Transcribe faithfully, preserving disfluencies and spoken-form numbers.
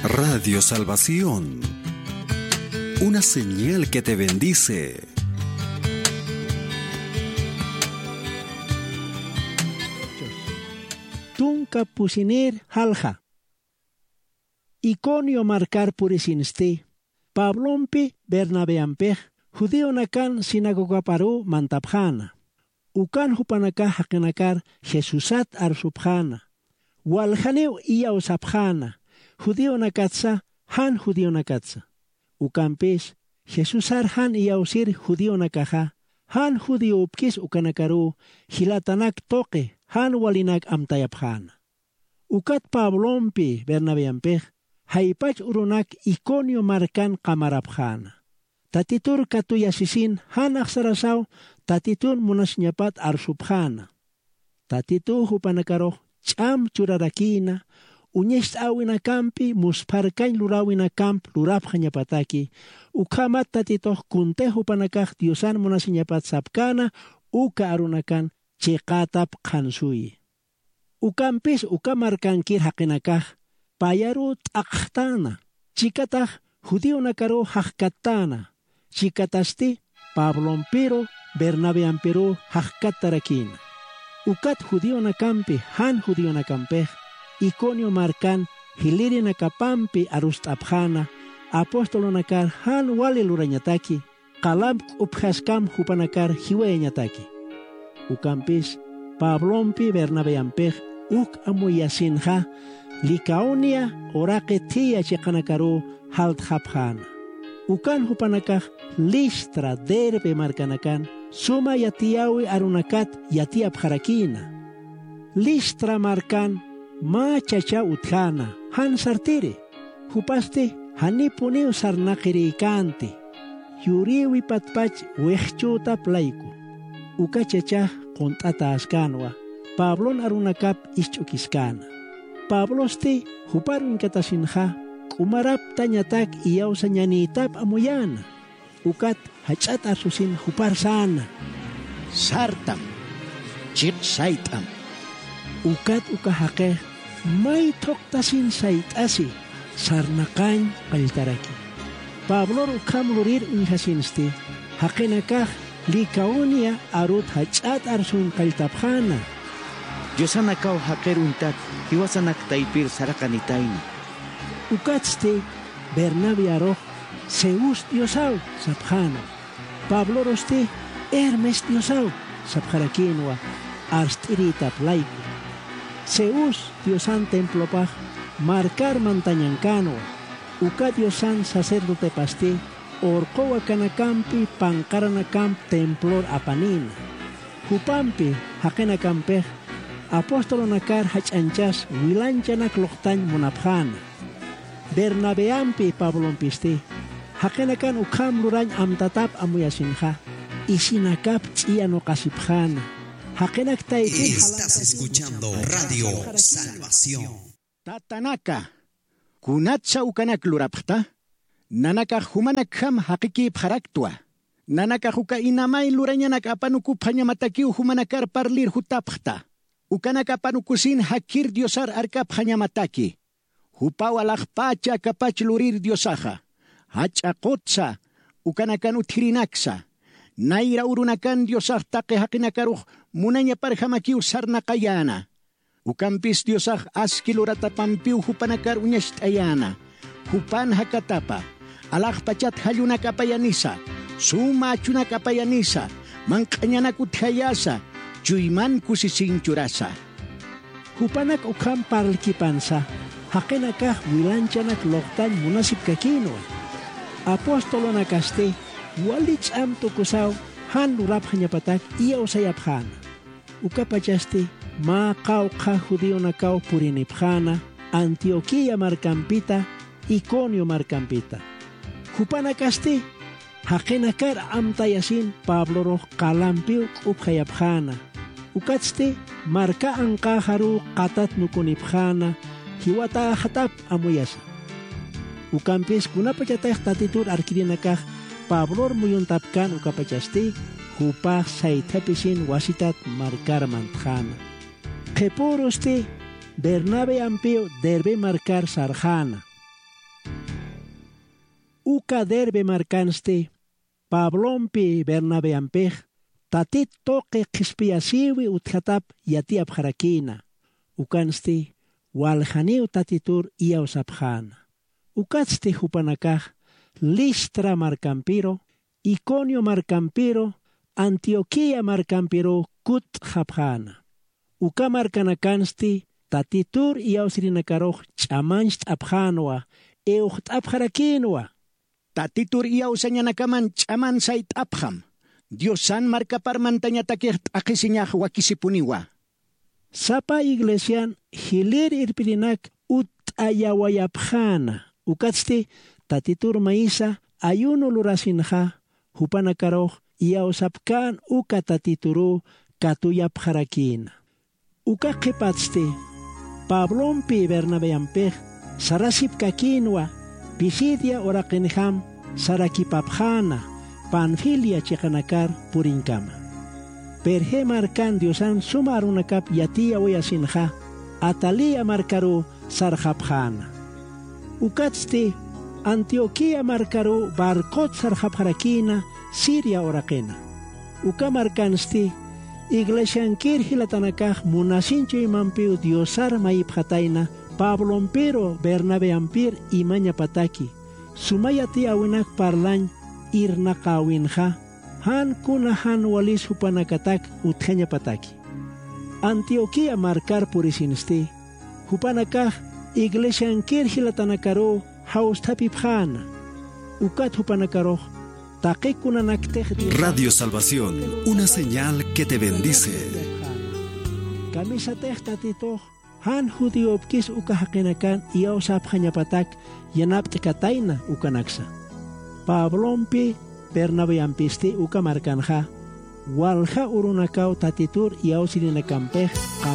Radio Salvación, una señal que te bendice. Tunka pusinir jalja. Iconio markar purisinsti, Pablompi Bernabeampix judionakan sinagogaparuw mantapxäna. Ukan jupanakax jaqinakar Jesusat arsupxäna. Waljaniw iyawsapxäna, judionakatsa, jan judionakatsa. Ukampis Jesusar jan iyawsir judionakaxa, jan judiopkis ukanakaruw jilatanak tuqi jan walinak amtayapxäna. Ukat Pablompi Bernabeampix jaypach urunak Iconio markan qamarapxäna. Tatitur katuyasisin jan axsarasaw Tatitun munasiñapat arsupxäna. Tatituw jupanakarux ch'am churarakïna, uñacht'äwinakampi muspharkañ luräwinakamp lurapxañapataki, ukhamat Tatitux kuntix jupanakax Diosan munasiñapat sapkäna, uka arunakan chiqätap qhansuyi. Ukampis uka markankir jaqinakax payaruw t'aqxtäna, chikatax judionakaruw jaqkattäna, chikatasti Pablompiru Bernabeampiruw jaqkattarakïna. Ukat judionakampi jan judionakampix Iconio markan jilïrinakapampi arust'apxäna, apostolonakar jan wali lurañataki, qalamp k'upjaskam jupanakar jiwayañataki. Ukampis Pablompi Bernabeampix uk amuyasinxa Licaonia uraqi thïya chiqanakaruw jaltxapxäna. Ukan jupanakax Listra, Derbe markanakan suma yatiyäwi arunakat yatiyapxarakïna. Listra markan mä chacha utjäna, jan sartiri, jupasti janipuniw sarnaqirïkänti, yurïwi patpach wixchütap layku. Uka chachax qunt'atäskänwa, Pablon arunakap isch'ukiskäna. Pablosti jupar uñkatasinxa, k'umaraptañatak iyawsañanïtap amuyäna. Ukat jach'at arsusin jupar säna: Sartam, chiq sayt'am. Ukat uka jaqix may thuqtasin sayt'asi, sarnaqañ qalltaraki. Pablor ukham lurir uñjasinsti, jaqinakax Licaonia arut jach'at arsun qalltapxäna: Diosanakaw jaqir uñtat, jiwasanak taypir saraqanitayna. Ukatsti Bernabiarux Zeus diosaw sapxäna. Pablorusti Hermes diosaw sapxarakïnwa, arst'irïtap layku. Zeus diosan templopax markar mantañankänwa. Uka diosan sacerdotepasti urquw akanakampi panqaranakamp templor apanïna. Jupampi jaqinakampix apostolonakar jach'añchas wilanchanak luqtañ munapxäna. Bernabeampi Pablompisti jaqinakan ukham lurañ amtatap amuyasinxa, isinakap ch'iyanuqasipxäna. Jaqinak taypin Estás escuchando Radio Salvación. Tatanaka, ¿kunatsa ukanak lurapxta? Nanakax jumanakjam jaqikïpxaraktwa. Nanakax uka inamay lurañanak apanukupxañamatakiw jumanakar parlir jutapxta. Ukanak apanukusin jakhir Diosar arkapxañamataki. Jupaw alaxpächi akapach lurir Diosaxa. Jach'a qutsa, ukanakan utjirinaksa. Nayra urunakan Diosax taqi jaqinakarux munañaparjamakiw sarnaqayäna. Ukampis Diosax aski luratapampiw jupanakar uñacht'ayäna. Jupan jakatapa, alaxpachat jallunak apayanisa, suma achunak apayanisa, manq'añanak utjayasa, chuyman kusisin churasa. Jupanak ukham parlkipansa, jaqinakax wilanchanak luqtañ munasipkakïnwa. Apostolonakasti wali ch'am tukusaw jan lurapxañapatak iyawsayapxäna. Ukapachasti mä qawqha judionakaw purinipxäna Antioquía markampita, Iconio markampita. Jupanakasti jaqinakar amtayasin Pablorux qalampiw k'upjayapxäna. Ukatsti marka anqäxaruw qatatnukunipxäna, jiwatäxatap amuyasa. Ukampis kunapachatix Tatitur arkirinakax Pablor muyuntapkän ukapachasti, jupax saythapisin wasitat markar mantxäna. Qhipürusti Bernabeampiw Derbe markar sarxäna. Uka Derbe markansti Pablompi Bernabeampix Tatit tuqi qhispiyasïwi utjatap yatiyapxarakïna. Ukansti waljaniw Tatitur iyawsapxäna. Ukatsti jupanakax Listra markampiru, Iconio markampiru, Antioquía markampiru kutt'xapxäna. Uka markanakansti Tatitur iyawsirinakarux ch'amancht'apxänwa, iwxt'apxarakïnwa. Tatitur iyawsañanakaman ch'aman sayt'apxam, Diosan markapar mantañatakix t'aqhisiñax wakisipuniwa. Sapa iglesian jilir irpirinak utt'ayawayapxäna, ukatsti Tatitur maysa ayuno lurasinxa, jupanakarux iyawsapkän uka Tatituruw katuyapxarakïna. Uka qhipatsti Pablompi Bernabeampix sarasipkakïnwa, Pisidia uraqinjam sarakipapxäna, Panfilia chiqanakar puriñkama. Perge markan Diosan suma arunakap yatiyawayasinxa, Atalía markaruw sarxapxäna. Ukatsti Antioquía markaruw barcot sarxapxarakïna Siria uraqina. Uka markansti iglesiankir jilatanakax munasin chuymampiw Diosar mayipxatayna Pablompiru Bernabeampir imañapataki, suma yatiyäwinak parlañ irnaqäwinxa, jan kuna jan walis jupanakatak utjañapataki. Antioquía markar purisinsti, jupanakax iglesiankir jilatanakaruw jawsthapipxäna. Ukat jupanakarux taqi kunanaktix Diosan Radio Salvación, una señal que te bendice. Kamisatix Tatitux jan judíopkis uka jaqinakan iyawsapxañapatak yanapt'katayna ukanaksa. Pablompi Bernabeampisti uka markanxa walja urunakaw Tatitur iyawsirïnakampix qam